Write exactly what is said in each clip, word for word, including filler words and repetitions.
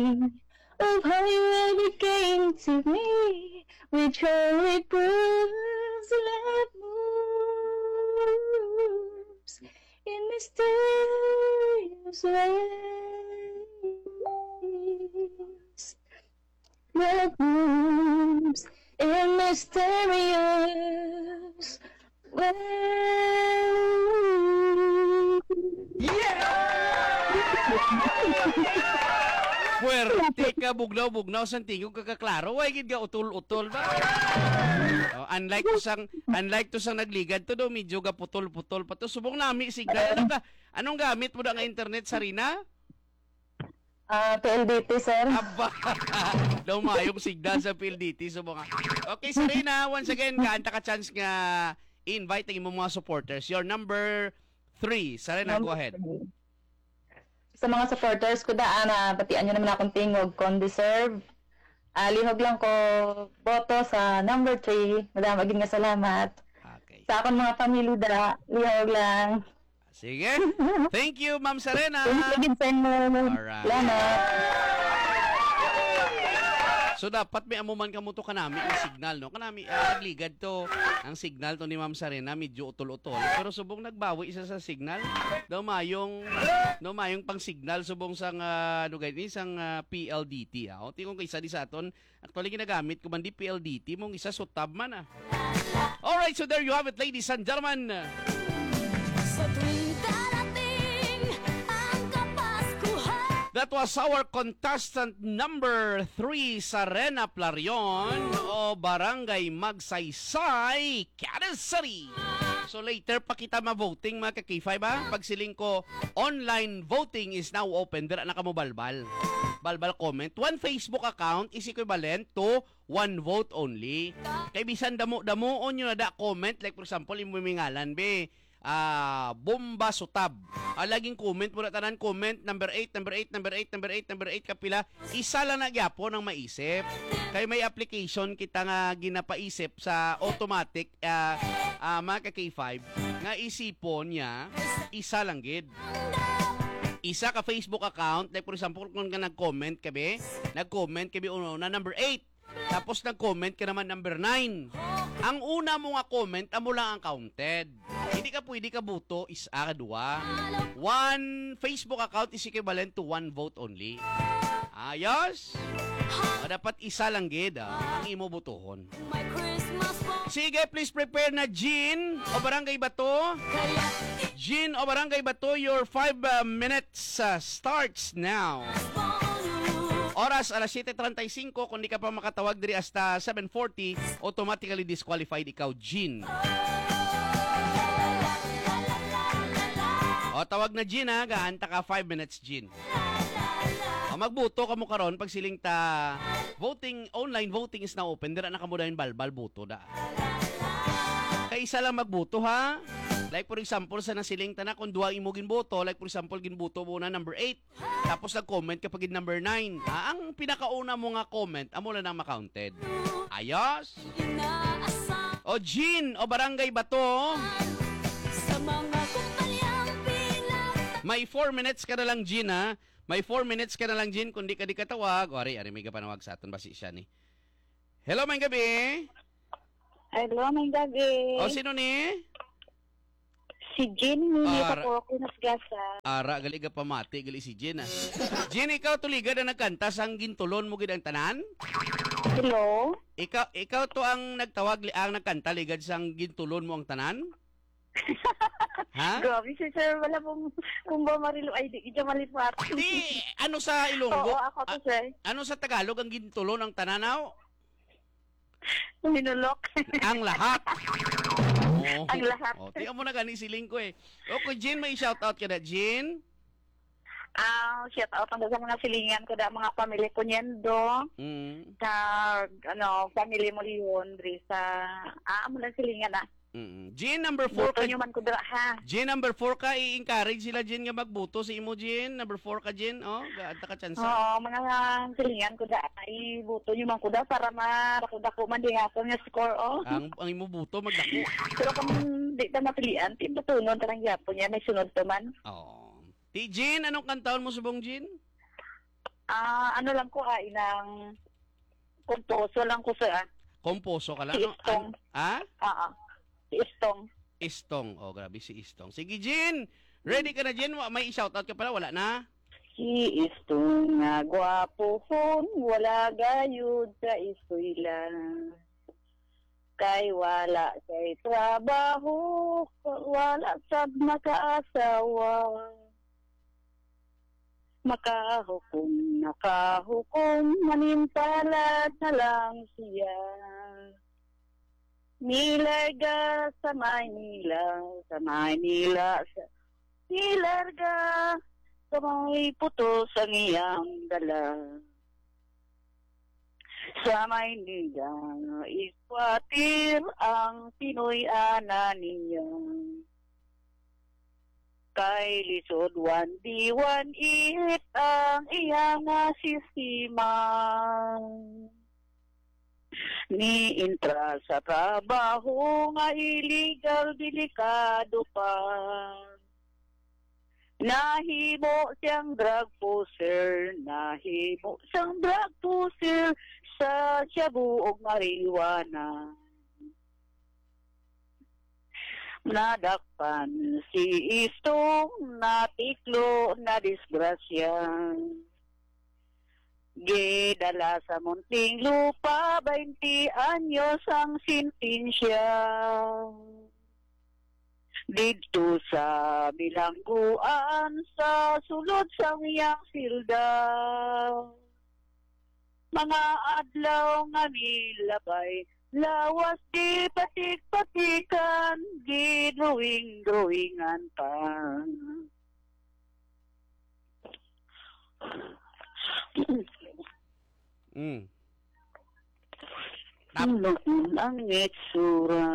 of how you ever came to me, which only proves love moves in mysterious ways. Love moves in mysterious ways. Puwerte ka, bugnaw-bugnaw sang tingog, kag kaklaro, way gid ka utol-utol ba? Oh, unlike to sang, unlike to sang nagligad to, do, medyo ga putol-putol pa to. Subong nami signal. Anong ga-, anong gamit mo da nga internet, Sarina? Ah, P L D T, sir. Aba! Daw mayong signal sa P L D T, subong. Okay, Sarina, once again, gaan ta ka chance nga i-invite ang imong mga supporters. Your number three. Sarina, go Number ahead. three. Sa mga supporters ko daan, ah, batian nyo naman akong tingog kung deserve. Ah, lihog lang ko boto sa number three. Madama gid nga salamat. Okay. Sa akong mga pamilya da, lihog lang. Sige. Thank you, Ma'am Sarena. Thank you gid sa inyo. Alright. Salamat. So dapat may amo man kamo to kanami ang signal, no? Kanami, ah, nagligad to ang signal to ni Ma'am Sarena, medyo utol-utol. Pero subong nagbawi isa sa signal. Daw mayong, daw mayong pang signal subong sang, ah, ano gani, sang, ah, P L D T, ah. O, tingog kay isa di sa aton, actually ginagamit ko man di P L D T, mong isa sutab man, ah. Alright, so there you have it, ladies and gentlemen. Sa tuwing darating ang Kapaskuhan. That was our contestant number three, Sarena Plarion, o Barangay Magsaysay, Cadas City. So later pa kita ma-voting, mga ka-K five, ha? Pagsiling ko, online voting is now open. Dira na kamo balbal. Balbal comment. One Facebook account is equivalent to one vote only. Kay bisan damo-damoon nyo na da comment, like for example, imo may ngalan, be, ah, Bomba Sutab. Ah, laging comment mo na tanan, comment, number eight, number eight, number eight, number eight, number eight, kapila, isa lang na gyapon ang maisip. Kay may application kita nga ginapaisip sa automatic, ah, ah, mga ka-K five, nga isipon niya, isa lang gid. Isa ka Facebook account, like for example, kung ka nag-comment ka, be, nag-comment ka, be, una, una, number eight. Tapos nag-comment ka naman number nine. Ang una mo nga comment, amo lang ang counted. Hindi ka pwede ka buto, isa ka duwa. One Facebook account is equivalent to one vote only. Ayos? O, dapat isa lang gid, ah, ang imo butuhon. My Christmas for Sige, please prepare na, Jean o Barangay Bato. kaya Jean o Barangay Bato, your five uh, minutes uh, starts now. Follow. Oras, alas siyete treinta y cinco. Kung di ka pa makatawag diri hasta seven forty, automatically disqualified ikaw, Jean. O, tawag na, Jean, ha. Gaan ta ka five minutes, Jean. O, magbuto kamo karon pag siling ta, voting, online voting is now open. Dira na kamo dayon balbal buto da. Kay isa lang magbuto, ha. Like for example, sa nasiling ta na, kung duha imo ginboto, like for example, ginboto mo na number eight. Tapos nag-comment ka pa gid number nine. Ah, ang pinakauna mo nga comment, amo lang ang ma-counted. Ayos? Inaasam O Jean, o Barangay Bato. Sa mga kumpanyang pinag- May four minutes ka na lang, Jean, ha? May four minutes ka na lang, Jean. Kung di ka, di ka tawag. O, ari, ari, may kapanawag sa aton. Basi siya ni. Hello, may gabi. Hello, may gabi. O, sino ni? Si Jean, ni Ah, sa Poco, Nasgasa. Ara, gali ka pamati, gali si Jean, ah. Jean, ikaw tuligad ang nagkanta sang gintulon mo gid ang tanan? Hello? Ikaw, ikaw to ang nagtawag, li- ang nagkanta ligad sang gintulon mo ang tanan? Ha? Grabe si sir, wala pong kumba marilo ay di kita malipat. Di, ano sa Ilonggo? Oo, ako to, A- sir. Ano sa Tagalog ang gintulon ang tanan, aw? Hinulok. Ang lahat. Oh. Ang lahat. Oh, tiyan mo na gani siling ko eh. Okay, Jean, may shout out ka na, Jean? Ah, shout out ang sa mga silingan ko da, mga pamilya ko niyan do. Mm. Sa, ano, family mo liyon, diri sa, ah, amo lang silingan, ah. Mm. Jean, number four Buto ka. nyo man ko dira, ha. Jean, number four ka, i-encourage sila, Jean, nga magbuto sa imo, Jean. Number four ka, Jean. Oh, gaanta ka chance. Oo, mga silingan ko da, ibuto nyo man ko da para ma-, dako-dako man di ako nga score, oh. Ang, ang imo buto, magdako. Pero kung di ta mapilian, di butunon ta lang gyapon niya, may sunod pa man. Oh. Ti Jean, anong kantahon mo subong, Jean? Ah, ano lang ko, ah, inang kumposo lang ko, sir, ah. Kumposo ka lang, Si no? Istong. An-, ah? Ah, ah. Si Istong. Istong. Oh, grabe si Istong. Sige, Jean. Ready ka na, Jean? Wa-, may i-shoutout ka pala? Wala na? Si Istong nga gwapohon, wala gayud ka iskwela. Kay wala kay trabaho, wala sad makaasawa. Makahukom, nakahukom, manimpalad na lang siya. Nilarga sa Maynila, sa Maynila, sa, nilarga sa may putos ang iyang dala. Sa Maynila, squatter ang Pinoy ana niya. Kay lisod one D, one E ang iya nga sistema. Niintra sa trabaho nga illegal, delikado pa. Nahimo siyang drug pusher, nahimo siyang drug pusher sa shabu ug marijuana. Nadakpan si Istong, natiklo, nadisgrasya. Gidala sa Muntinlupa, baynte anyos ang sentensya. Didto sa bilangguan, sa sulod sang iyang silda. Mga adlaw nga milabay, lawas di patik-patikan, gidrawing-drawingan pa. Mm. Tap- Hinuon ang itsura.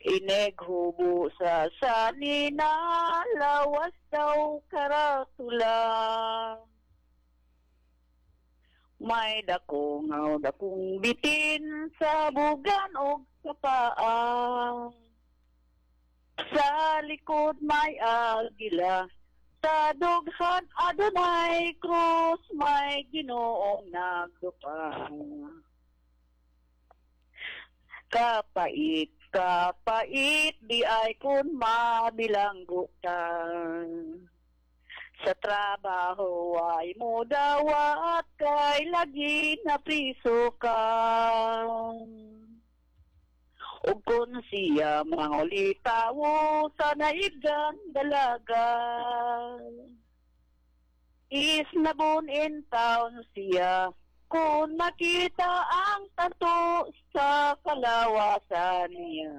Ineghubo sa sanina, lawas daw karatula. May dako nga dakong bitin sa bugan ug sa paa. Sa likod may agila, sa dughan adunay krus, may Ginoong nagdupa. Kapait, kapait, di ay kun mabilanggo ka. Sa trabaho ay mo dawat, kay lagi na priso ka. Ug kun siya mangulitawo sa naibgan dalaga, is nabun in town siya kun makita ang tato sa kalawasan niya.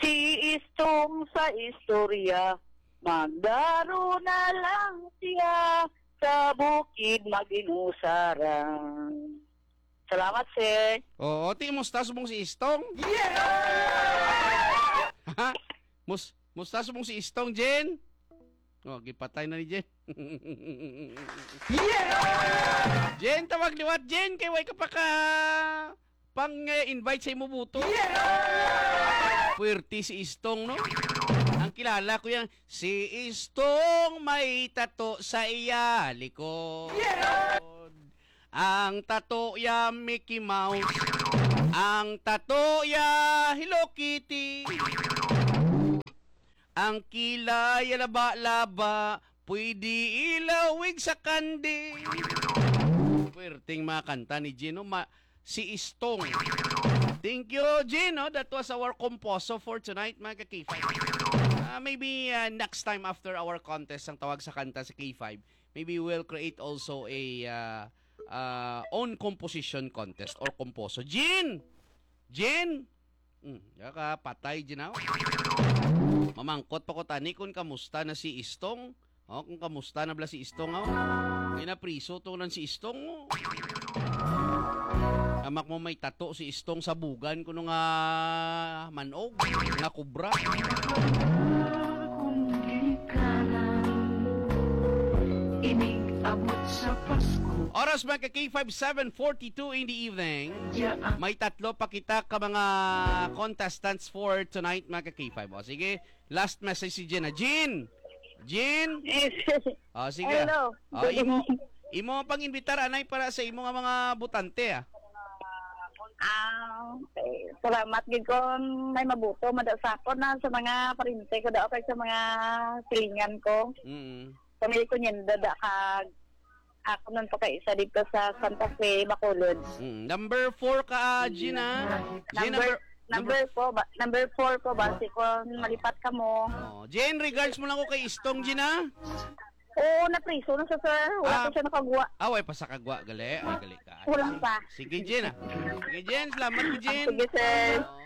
Si Istong sa istorya, magdaro na lang siya sa bukid mag-inusaran. Salamat, sir. Oo, ti, musta subong si Istong? Yeah! Ha? Mus-, musta subong si Istong, Jen? Oh, gipatay na ni Jen. Yeah! Jen, tawag liwat, Jen, kay way ka pa ka pang, eh, invite sa imo buto. Yeah! Puwerte si Istong, no? Ang kilala ko yan, si Istong may tato sa iya likod. Yeah! Ang tato ya Mickey Mouse. Ang tato ya Hello Kitty. Ang kilay ya laba-laba, pwede ilawig sa kandi. Puwerteng mga kanta ni Gino. Ma-, si Istong. Thank you, Gino. That was our composo for tonight, mga ka-K five. Ah, maybe, ah, next time after our contest, ang tawag sa kanta sa K five, maybe we'll create also a, ah, ah, own composition contest or composo. Jean! Jean! Hmm, ya ka, patay, Jean, ah. Mamangkot pa ko tani kung kamusta na si Istong. Oh, kung kamusta na bala si Istong, oh. Kaya na priso to nan si Istong, oh. Amak mo may tato si Istong sa bugan kuno nga manog, nga kubra. Kung di ka lang inig abot sa Pasko. Oras, mga ka-K five, seven forty-two in the evening. Yeah. May tatlo pa kita ka mga contestants for tonight, mga ka-K five. O, sige, last message si Jean. Ah, Jean! Jean? Yes. Oh, sige. Hello. Oh, imo, imo pang invitar anay para sa imo nga mga botante, ah. Ah, okay. Salamat gid kon may mabuto mada sa akon na sa mga parente ko daw kay sa mga silingan ko. Mm. Pamili ko niyan dada kag ako nun pa kay isa dito sa Santa Fe, Bacolod. Mm. Number four ka, ah, Jean, ah. Jean, Number, number po ba, number four po ba si kon malipat ka mo? Oh, Jean, regards mo lang ko kay Istong, Jean, ah. Oo, napriso na sa sir. Wala Ah. pa siya nakagwa. Away pa sa kagwa, gali. Ay, gali ka. Kulang pa. Sige, Jean, ah. Sige, Jean. Salamat mo, Jean. Sige, sir. Oh.